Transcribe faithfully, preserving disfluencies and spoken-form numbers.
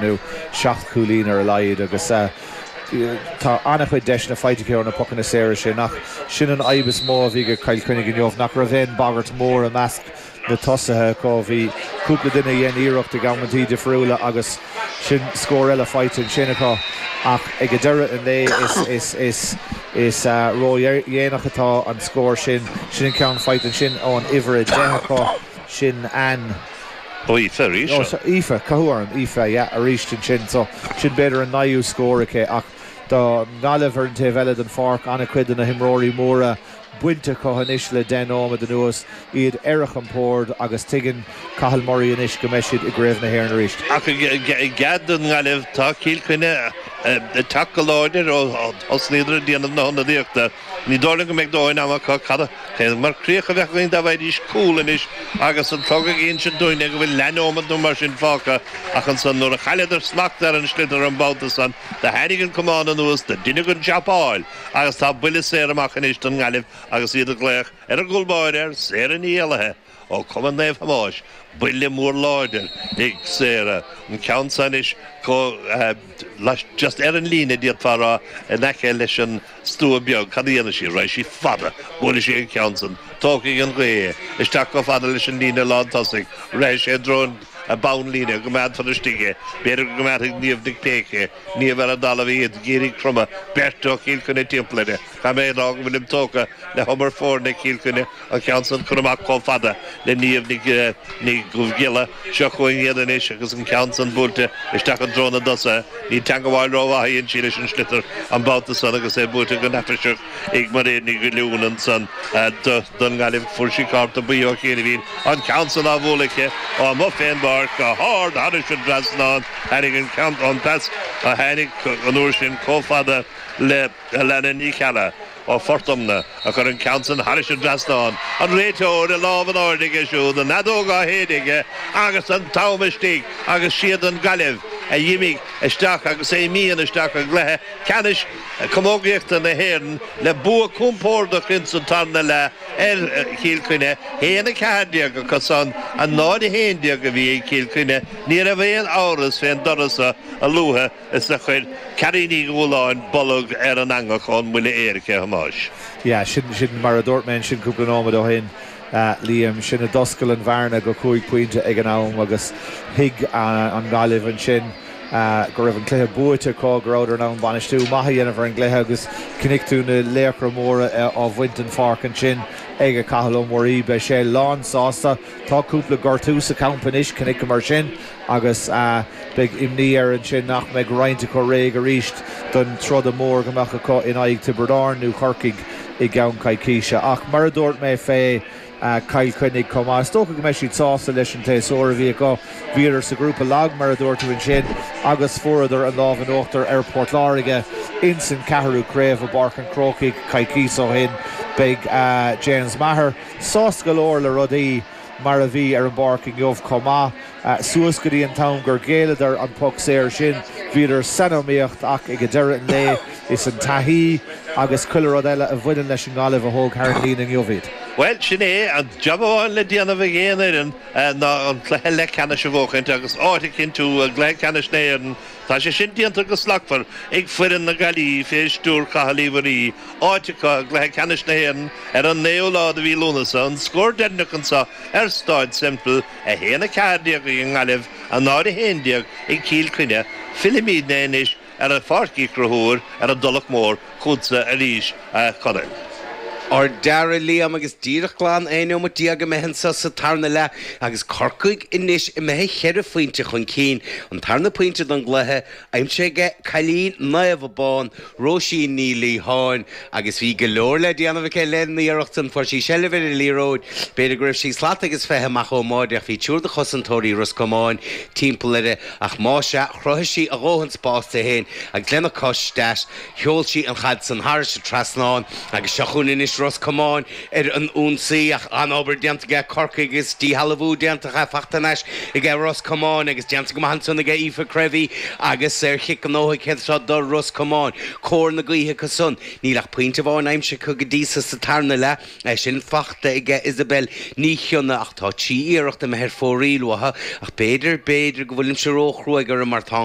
Nó seacht gcúilín ar a laghad agus tá an-chuid deiseanna faighte acu ar na pocanna saora sin ach sin an fhadhb is mó a bhí ag Cill Chainnigh inniu nach raibh aon bagairt mór i measc na tosaithe acu. Bhí cúpla duine a dhein iarracht ag amantaí difriúla agus sin scór eile faighte ansin acu ach ag deireadh an lae is is is is ródhéanach atá an scór sin. Sin an ceann faighte ansin ón uimhir a deich acu sin an. Aoife arís. Aoife, cathú orm, Aoife, yeah, arís ansin so sin b'fhéidir an naoú scór aici ach do Ghaillimh ar an taobh eile den pháirc an-chuid de na himreoirí móra bainte acu anois le deich nóiméad anuas, iad ar a gcompord agus tuigeann Cathal Murray anois go mbeidh siad i gCraobh na hÉireann arís. Ach i gcead don nGaillimh tá Cill Chainnigh ag teacht go láidir ó thosnaíodar ag déanamh na hionadaíochta. Ní dóigh liom go mbeidh dóthain ama acu cad é mar chríoch a bheadh againn dá bhfaighidís cúl anois agus an clog ag insint dúinne go bhfuil leathnóiméad nó mar sin fágtha ach ansan nuair a chailleadar smacht ar an sliotar an babhta san do tháinig an camán anuas do deineadh an jabáil agus tá buille saor amach anois don nGaillimh agus iad ag glaoch ar an gcúl báire ar Sarah Ní Éallaithe ó Cumann Naomh Thomáis buille mór láidir ag Sarah an ceann san anois chomh just ar an líne d'fhéadfá a rá in aice leis an stua beag cad a dhéanfaidh sí raghaidh sí fada buailfidh sí an ceann san tógfaidh an ghaoth é isteach chomh fada leis an líne lán tosaigh rithfidh sé i dtreo an bonnlíne go coimeádfar istigh é b'fhéidir go gcoimeádfaidh Niamh Nic Péic é Niamh ar an dtalamh í ag iarraidh cromadh beirt ó Chill Chainnigh timpeall uirthi Caithfidh mé a rá go bhfuilim tógtha le hobair foirne Chill Chainnigh an ceann san curtha amach chomh fada le Niamh Nic Ní Dhubhghiolla. Seo chugainn iad anois agus an ceann san buailte isteach i dtreo na dtosaithe. Ní teangabháil rómhaith a dhein sí leis an sliotar an babhta san agus é buaite go neafaiseach ag Mairéad Ní Dhuilliúin ansan don nGaillimh. Fuair sí cárta buí ó chianaibhín. An ceann san á bhualadh aici ó amuigh fén bpáirc go hard thairis an dtrasnán. Tháinig an ceann, an pas a tháinig an uair sin chomh fada le Alannah Ní Cheallaigh ó Phort Omna a chuir an ceann san thairis an dtrasnán, an réiteoir a lámh in airde aige siúd, an fheadóg á shéideadh aige agus an t-am istigh agus siad an Ghaillimh a d'imigh isteach agus a imíonn isteach i gcluiche ceannais camógaíochta na hÉireann le bua compordach ins an tarna leath ar Chill Chainnigh, haon a ceathair déag acu san, a náid a haon déag a bhí ag Cill Chainnigh. Ní raibh aon amhras fén dtoradh so a luaithe is a chuir Carrie Ní Dhúláin bolg ar an eangach ón mbuille éirice, a Thomáis. Yeah, sin, sin mar a dúirt mé ansin cúpla nóiméad ó shin, Liam, sin a d'oscail an bhearna go cúig pointe ag an am agus thuig an Ghaillimh ansin go raibh an cluiche buaite acu, go rabhadar in ann bainistiú maith a dhéanamh ar an gcluiche agus chonaic tú na laochra móra á bhaint den pháirc ansin ag Cathal Ó Muirí. Beidh sé lán sásta. Tá cúpla gortú sa champa anois, chonaiceamar sin agus beidh imní air ansin nach mbeidh roinnt acu réidh arís don troda mór go mbeadh acu in aghaidh Tiobraid Árann nó Chorcaigh i gceann coicíse. Ach mar a dúirt mé fé Chill Chainnigh chomh maith, is dócha go mbeidh siad sásta leis an tséasúr a bhí acu. Bhíodar sa ghrúpa lag, mar a dúirt tú ansin, agus fuaireadar an lámh in uachtar ar Port Láirge ins an ceathrú craobh i bPáirc an Chrócaigh coicís ó shin. Beidh James Maher sásta go leor le rudaí mar a bhí ar an bpáirc inniu chomh maith. Suas go dtí an t-am gur ghéilleadar an poc saor sin, bhíodar san iomaíocht ach ag deireadh an lae is an taithí agus chuile rud eile a bhaineann leis an nGaillimh a thóg thar an líne inniu iad. Bhuel, sin é, an jab amháin le déanamh ag aon fhoireann ná an cluiche leathcheannais a bhuachaint agus áit a chinntiú i gcluiche ceannais na hÉireann. Tá sé sin déanta go slachtmhar ag foireann na Gaillimhe fé stiúir Chathail Uí Mhuirí, áit acu i gcluiche ceannais na hÉireann ar an naoú lá de mhí Lúnasa, an scór deireanach anseo ar Stáid Semple, a haon a ceathair déag ag an nGaillimh, a náid a haon déag ag Cill Chainnigh. Fillimidne anois ar Pháirc Uí Chonchúir ar an dTulach Mhór chugatsa arís, a Chonaill. Ar deireadh, Liam, agus díreach glan aon neomat déag imithe anso sa tarna leath agus Corcaigh anois imithe cheithre phointe chun cinn, an tarna pointe don gcluiche, aimsithe aige cailín Naomh Abán, Róisín Ní Liatháin, agus bhí go leor le déanamh aici lena iarracht san. Fuair sí seilbh ar an liathróid, b'fhéidir go raibh sí slat agus fiche amach ón mbáide ach bhí triúr de chosantóirí Ros Comáin timpeall uirthi ach más ea, chruthaigh sí a dhóthain spáis di féin agus lena cos deas sheol sí an chaid san thairis an trasnán agus seo chugainn anois Anois Ros Comáin ar an ionsaí ach an-obair déanta ag Corcaigh agus díshealbhú déanta faighte anois ag Ros Comáin agus déanta go maith ansan ag Aoife Creevy agus ar chic gnóthaithe seo do Ros Comáin. Cóir na gaoithe acusan níl ach pointe amháin aimsithe go dtí seo sa tarna leath é sin faighte ag Isabel Ní Chionnaith ach tá trí iarracht imithe ar fóraoil uathu ach b'fhéidir b'fhéidir go bhfuilimse róchruaidh orthu mar tá